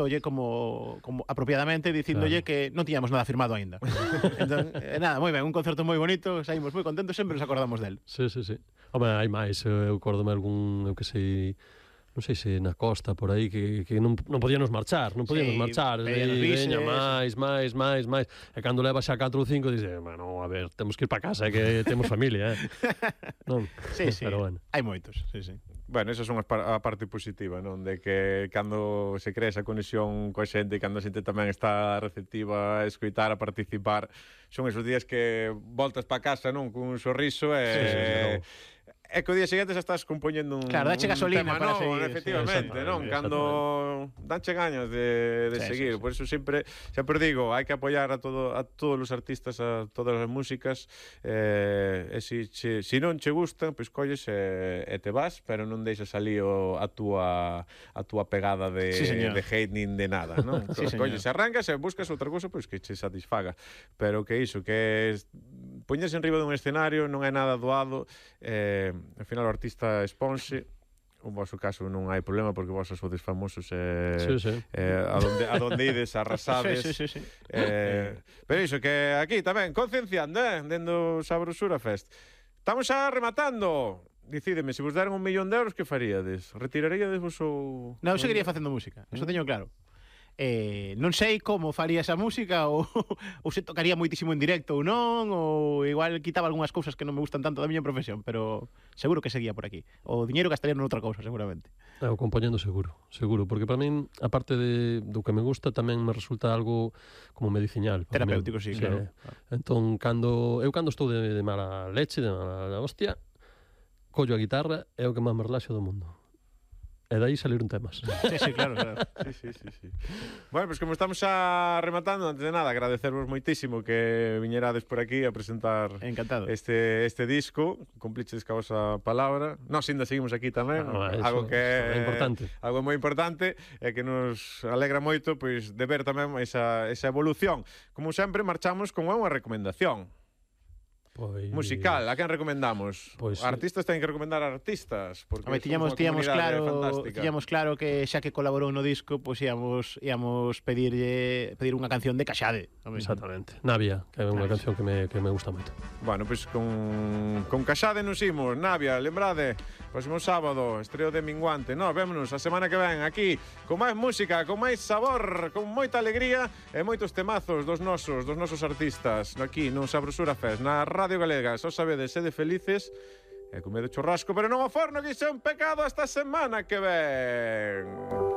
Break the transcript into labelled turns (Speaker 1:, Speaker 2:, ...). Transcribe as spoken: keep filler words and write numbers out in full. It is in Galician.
Speaker 1: oye, como, como apropiadamente dicíndolle claro. que non tiñamos nada firmado aínda. Entón, eh, nada, moi ben, un concerto moi bonito, saímos moi contentos, sempre nos acordamos del.
Speaker 2: Sí, sí, sí. Home, hai máis, eu acordome algún, eu que sei, non sei se na costa por aí que, que non, non podíamos marchar, non podíamos sí, marchar, e, veña, máis, máis, máis, máis. E cando leva xa catro ou cinco dice, bueno, a ver, temos que ir para casa, que temos familia, eh. Non?
Speaker 1: Sí, sí,
Speaker 2: pero bueno.
Speaker 1: Hai moitos, sí, sí.
Speaker 3: Bueno, esa son a parte positiva, non? De que cando se crea esa conexión coa xente, cando a xente tamén está receptiva a escoitar, a participar, son esos días que voltas para casa, non? Cun sorriso e... Sí, sí, sí, no. É que o día seguinte xa estás compoñendo un,
Speaker 1: claro, dache gasolina
Speaker 3: un tema
Speaker 1: para
Speaker 3: novo,
Speaker 1: seguir,
Speaker 3: efectivamente, sí, non? Cando danche gañas de, de sí, seguir, sí, sí. Por eso sempre, sempre digo, hai que apoiar a todo a todos os artistas, a todas as músicas, eh, e si, si, si non che gustan, pois colles e, e te vas, pero non deixas ali o, a túa a túa pegada de, sí, de hate nin de nada, non? Sí, colles e arrancas e buscas outra cousa pois que che satisfaga, pero que iso, que es, poñerse en riba dun escenario non é nada doado, eh, ao final o artista exponse, o vosso caso non hai problema porque vos sodes famosos e
Speaker 2: sí, sí.
Speaker 3: eh, a donde a donde ides arrasades.
Speaker 1: Sí, sí, sí, sí.
Speaker 3: Eh, pero iso que aquí tamén concienciando, eh, dendo Sabrosura Fest. Estamos xa rematando. Dicídeme, se vos deran un millón de euros, que faríades? Retiraríades vos ou...
Speaker 1: Non, eu seguiría facendo música, eso teño claro. Eh, non sei como faría esa música ou, ou se tocaría moitísimo en directo ou non, ou igual quitaba algunhas cousas que non me gustan tanto da miña profesión, pero seguro que seguía por aquí. O diñeiro gastaría noutra cousa, seguramente.
Speaker 2: Eu compoñendo seguro, seguro, porque para min, aparte de, do que me gusta, tamén me resulta algo como medicinal.
Speaker 1: Terapéutico, sí, sí, claro.
Speaker 2: Entón, cando, eu cando estou de, de mala leche, de mala hostia, collo a guitarra, é o que máis me relaxo do mundo. E dai saliron temas.
Speaker 1: Sí, sí, claro, claro.
Speaker 3: Sí, sí, sí, sí. Bueno, pois pues como estamos xa rematando, antes de nada, agradecervos moitísimo que viñerades por aquí a presentar
Speaker 1: Encantado.
Speaker 3: este este disco, cumpliches ca vosa palabra. Nós ainda seguimos aquí tamén,
Speaker 2: ah, eso,
Speaker 3: algo que é
Speaker 2: importante.
Speaker 3: Algo moi importante e que nos alegra moito pois de ver tamén esa esa evolución. Como sempre, marchamos con unha recomendación. Pois... musical, a quen recomendamos? Pois, artistas teñen que recomendar a artistas, porque
Speaker 1: Home, tiñamos, tiñamos claro, tiñamos claro que xa que colaborou no disco, pois pues íamos íamos pedirlle pedir unha canción de Caxade.
Speaker 2: Exactamente. Navia, que é unha Navia. canción que me que me gusta moito.
Speaker 3: Bueno, pois pues con con Caxade nos imos, Navia, lembrade, próximo sábado, estreo de Minguante. Nos vémonos a semana que ven aquí con máis música, con máis sabor, con moita alegría e moitos temazos dos nosos, dos nosos artistas, aquí no Sabrosura Fest, na Radio Galega. Só sabedes, sede felices e comedo churrasco, pero non ao forno, que iso é un pecado. Esta semana que ven.